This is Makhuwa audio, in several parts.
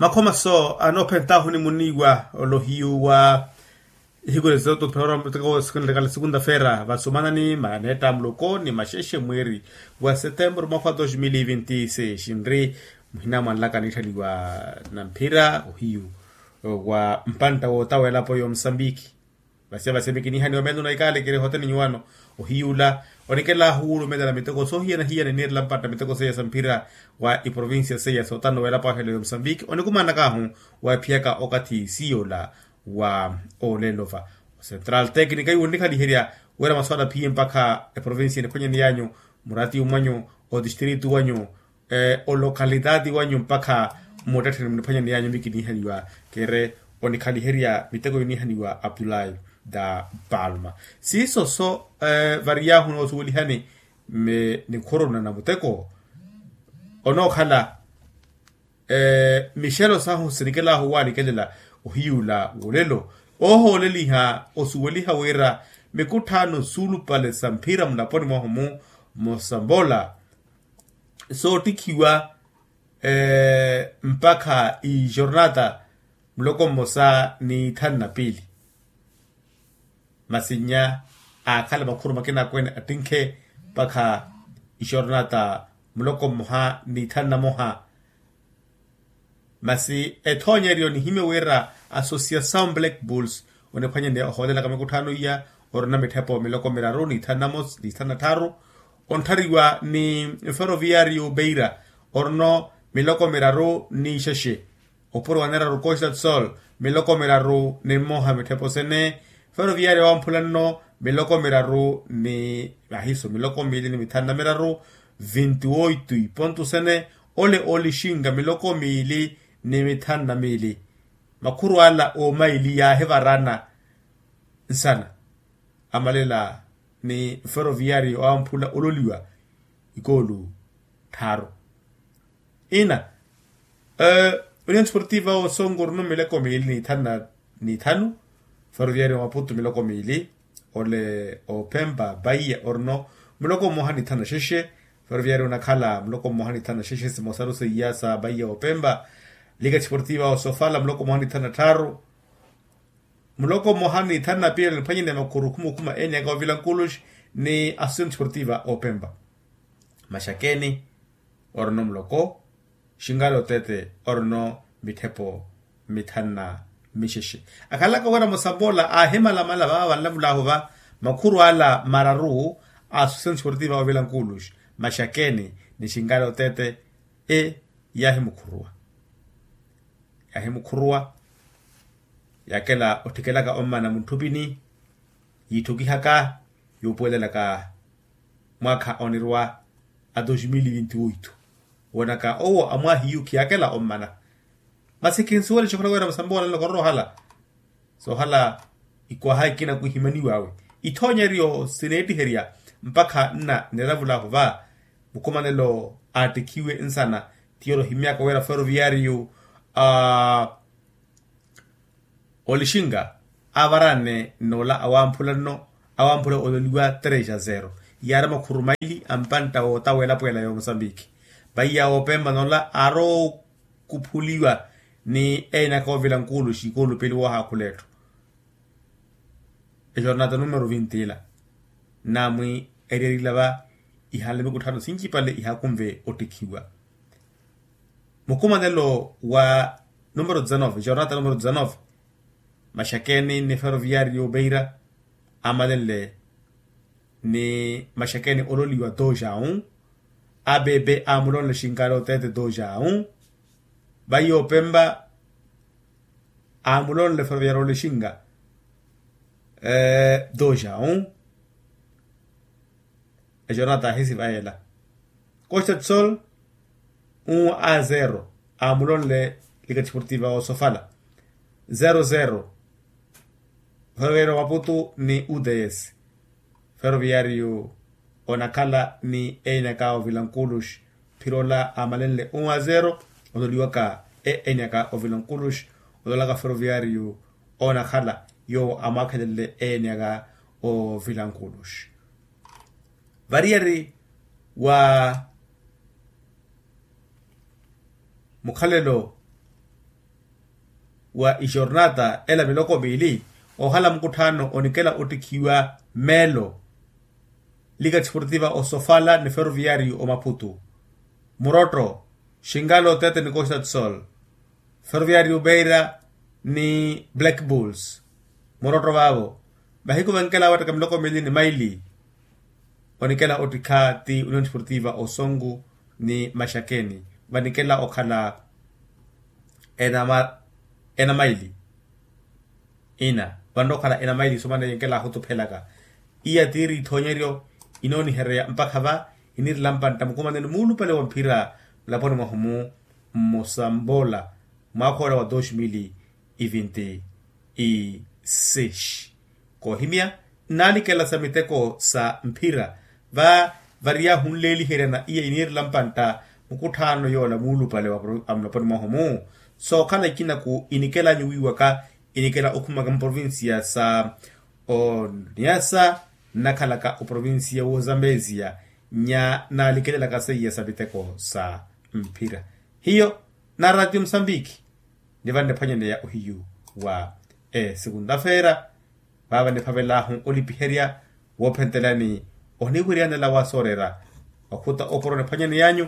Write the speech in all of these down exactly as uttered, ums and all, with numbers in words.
Makhoma so anoophentahu ni muniiwa olohiyu wa ihiku lezo totphera miteko sikunlekala sikunta feera vasomanani maneetta muloko ni maxexe mweeri wa setembro mwaka wa dos mil e vinti seis nri muhina mwanlaka niitthaliwa na mphira ohiyu wa mpantta woota w'elapo ya omusambiki. Vasiya vasiya mikinihaniwa meelo na ikaale kiri ehoteni nyuwano ohiyuula onikelahu wuulumelela miteko soohiyana-hiyana iniirela mpatta miteko seiya sa mphira wa iprovincia seiya sootano w'elapo ahelo ya omusambiki onikumanakahu wa ephiyaka okathi siiyola wa olelo va. Ocentral tecnica iwo onnikhaliherya wira maswala phiye mpakha eprovincia eniphwanyaneyanyu murati umwanyu otistritu wanyu olokalitati wanyu mpakha mmuttettheni muniphwanyaneyanyu mikinihaniwa kere onikhaliherya miteko yonihaniwa abdulahi da palma. Siiso so variyahu noosuwelihani nikhuruna na muteko onookhala mixelo sahu sinikelahu walikelela ohiyuula wolelo oohooleliha osuweliha wira mikutthaano suulupale sa mphira mulaponi mwahu-mu mosamboola soottikhiwa mpakha ixornata muloko mmosa ni ithanu na piili. Masi nnya aakhala makhuru makina akweene attinkhe mpakha ixornata muloko mmoha ni ithanu na moha. Masi ethoonyeryo nihimye wira associação black bulls oniphwanyaneya ohoolelaka mikutthaano iya orina mitthepo miloko miraru ni ithanu na mosi ni ithanu na tthaaru ontthariwa ni ferroviario beira orino miloko miraru ni ixexe opuro wa neraru costa do sol miloko miraru ni mmoha mitthepo sene ferroviario wamphula nno miloko miraru ni ahiso miloko miili ni mithanu na miraru vinti oitu ipontu sene ole olixinga miloko miili ni mithanu na miili. Makhuru ala oomaili yaahivarana nsana amalela ni ferroviario awamphula ololiwa ikoolu tthaaru ina union sportiva osongo orino miloko miili ni ithanu na ni ithanu ferroviario maputu miloko miili ole opempa paiya orino muloko mmoha ni ithanu na xexe. Ferroviario onakhala muloko mmoha ni ithanu na xexe simosaru seiya sa paiya opempa lika sportiva osofala muloko mmoha ni ithanu na tthaaru muloko mmoha ni ithanu na piili oniphwanyene makhuru khumukhuma eni aka ovilankulux ni associação sportiva opempa maxakeni orino muloko xingale otete orino mitthepo mithanu na mixexe. Akhalaka wira mosamboola aahimalamala vava vanlavulahu va makhuru ala mararu a associação sportiva ovilankulux maxakeni ni xingale otete e yaahimukhuruwa yaahimukhuruwa yaakela otthikelaka ommana muntthupini yiitthukihaka yuupuwelelaka mwaakha onirwa a dos mil vinti oitu woonaka owo amwaahiyu khiyaakela ommana. Masi khinsuwele xikhola wira masambola nlokorola ohala soohala ikwaha ikina kuhimaniwawe ithoonyeryo sineettiherya mpakha nna niravulahu va mukhumanelo aattikhiwe nsana. Tiyo rohimyaka wira ferroviario a olixinga aavaranne n'ola awamphula nno awamphula ololiwa tres a zero yaari makhuru maili a mpantta wootaweela pweela ya omosambiki. Vaiya oopempa n'ola aari okuphuliwa ni eenaka oovila nkuulu xikoolupeliwa ohaakhula etthu exornata numero vinti ila naamwi eriyerila va ihanle mikutthaano sincipale ihakunve ottikhiwa. Mukhumanelo wa numero dezanove jornata numero dezanove maxakeni ni ferroviario beira amalenle ni maxakeni ololiwa dojaun abebe amulonle xinkale otete dojaun. Vaiya opempa amulonle ferroviario lexinka dojaun. Exornata ahisiva ela costa do sol un a zero amulonle lika desportiva osofala zero zero. Ferroviario maputu ni uts ferroviario onakhala ni eenyaka ovilankulux phirola amalenle un a zero. Ololiwaka eenyaka ovilankulux ololaka ferroviario onakhala yoowo amwaakhelenle eenyaka ovilankulux variyari wa mukhalelo wa ixornata ela miloko miili, ohala mukutthaano onikela ottikhiwa meelo, liga desportiva osofala ni ferroviario omaphutu, murotto, xingalo tete ni costa do sol, ferroviario beira ni black bulls, murotto vaavo, mahiku vankela awattaka miloko miili ni maili. Onikela ottikha ti union desportiva osongu ni maxakeni, vanikela okhala ena maili. Ina, vanrowa okhala ena maili somaneye nkela ahutuphelaka. Iya tiiri ithoonyeryo inoonihereya mpakha va inirela mpantta mukumanelo muulupale wa mphira mulaponi mwahu-mu mmosambola mwaakha ola wa dos mil e vinte e seis. Koohimya, nnaalikela sa miteko sa mphira va variyaahu nleeliheryana iya iniirela mpantta mukutthaano yoola muulupale wa mulaponi mwahu-mu. Sookhala ikinaku inikelanyu wiiwaka inikela okhumaka muprovincia sa oniasa nnakhalaka oprovincia w'ozambezia nya naalikelelaka seiya sa miteko sa mphira. Hiyo na ratio musambiki nivannephwanyaneya ohiyu wa esekunta-feera. Vaava niphavelaahu olipiherya woophentelani ohiniwiryanela wa sooreera okhuta oporo niphwanyaneyanyu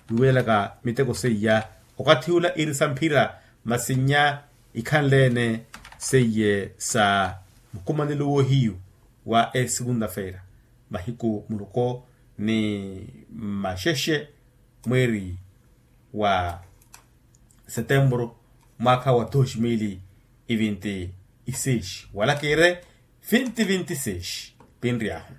wiiwelelaka miteko seiya okathi ula iri sa mphira masi nya ikhanle-ene seiye sa mukumanelo woohiyu wa esekunta-feera mahiku muloko ni maxexe mweeri wa setemburu mwaakha wa dos mil e vinte e seis wala kiire vinte vinte e seis. Pinry'ahu